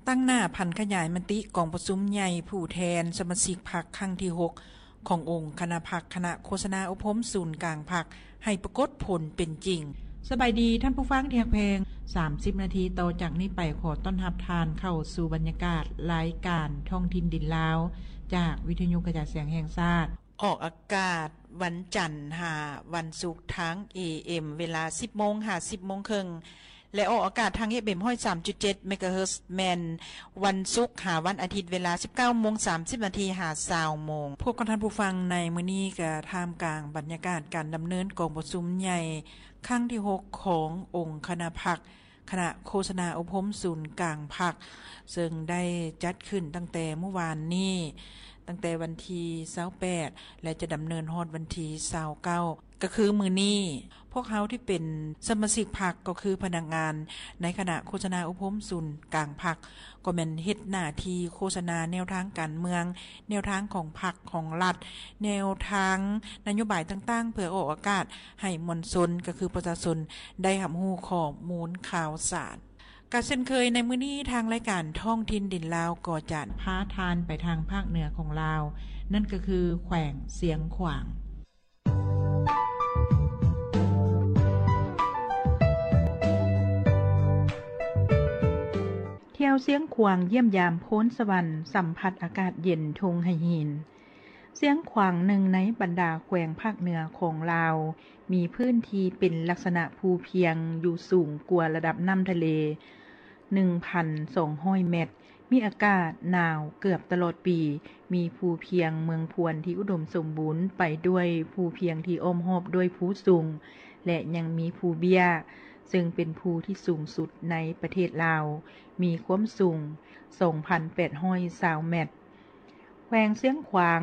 ຕັ້ງໜ້າຜັນຂະຫຍາຍມະຕິກອງປະຊຸມໃຫຍ່ຜູ້ແທນສະມາຊິກພັກຄັ້ງທີຫົກ ຂອງອົງຄະນະພັກ ຄະນະໂຄສະນາອົບຮົມສູນກາງພັກ ໃຫ້ປາກົດຜົນເປັນຈິງ. ສະບາຍດີທ່ານຜູ້ຟັງທີ່ຮັກແພງ, ສາມສິບນາທີຕໍ່ຈາກນີ້ໄປ ຂໍຕ້ອນຮັບທ່ານເຂົ້າສູ່ບັນຍາກາດລາຍການທ້ອງຖິ່ນດິນລາວ ຈາກວິທະຍຸກະຈາຍສຽງແຫ່ງຊາດ. ອອກອາກາດວັນຈັນຫາວັນສຸກທາງ ເອເອັມ ເວລາສິບໂມງຫາສິບໂມງເຄິ່ງ ແລະ ອອກອາກາດທາງ ເອຟເອັມ ຮ້ອຍສາມຈຸດເຈັດ ເມກາເຮີດ ແມ່ນວັນສຸກຫາວັນອາທິດ ເວລາສິບເກົ້າໂມງສາມສິບນາທີຫາຊາວໂມງ. ພົບກັບທ່ານຜູ້ຟັງໃນມື້ນີ້ ກະທ່າມກາງບັນຍາກາດການດຳເນີນກອງປະຊຸມໃຫຍ່ຄັ້ງທີຫົກ ຂອງອົງຄະນະພັກ ຄະນະໂຄສະນາອົບຮົມສູນກາງພັກ ເຊິ່ງໄດ້ຈັດຂຶ້ນຕັ້ງແຕ່ມື້ວານນີ້ ຕັ້ງແຕ່ວັນທີຊາວແປດ ແລະ ຈະດຳເນີນຮອດວັນທີຊາວເກົ້າ ກໍຄືມື້ນີ້. ພວກເຮົາທີ່ເປັນສະມາຊິກພັກ ກໍຄືພະນັກງານໃນຄະນະໂຄສະນາອົບຮົມສູນກາງພັກ ກໍແມ່ນເຮັດໜ້າທີ່ໂຄສະນາແນວທາງການເມືອງ, ແນວທາງຂອງພັກຂອງລັດ, ແນວທາງນະໂຍບາຍຕ່າງໆ ເພື່ອອອກອາກາດໃຫ້ມວນຊົນ ກໍຄືປະຊາຊົນ ໄດ້ຮັບຮູ້ຂໍ້ມູນຂ່າວສານ. ກະເຊັ່ນເຄີຍໃນມື້ນີ້ ທາງລາຍການທ້ອງຖິ່ນດິນລາວ ກໍຈະພາທ່ານໄປທາງພາກເໜືອຂອງລາວ, ນັ້ນກໍຄືແຂວງຊຽງຂວາງ. ທ່ຽວຊຽງຂວາງຢ້ຽມຢາມໂພນສະຫວັນ ສຳຜັດອາກາດເຢັນທົ່ງໄຫຫີນ. ຊຽງຂວາງ ໜຶ່ງໃນບັນດາແຂວງພາກເໜືອຂອງລາວ ມີພື້ນທີ່ເປັນລັກສະນະພູພຽງຢູ່ສູງກວ່າລະດັບນ້ຳທະເລ ໜຶ່ງພັນສອງຮ້ອຍແມັດ, ມີອາກາດໜາວເກືອບຕະຫຼອດປີ, ມີພູພຽງເມືອງພວນທີ່ອຸດົມສົມບູນໄປດ້ວຍພູພຽງທີ່ອ້ອມຮອບດ້ວຍພູສູງ ແລະ ຍັງມີພູເບ້ຍ ເຊິ່ງເປັນພູທີ່ສູງສຸດໃນປະເທດລາວ, ມີຄວາມສູງສອງພັນແປດຮ້ອຍຊາວແມັດ. ແຂວງຊຽງຂວາງ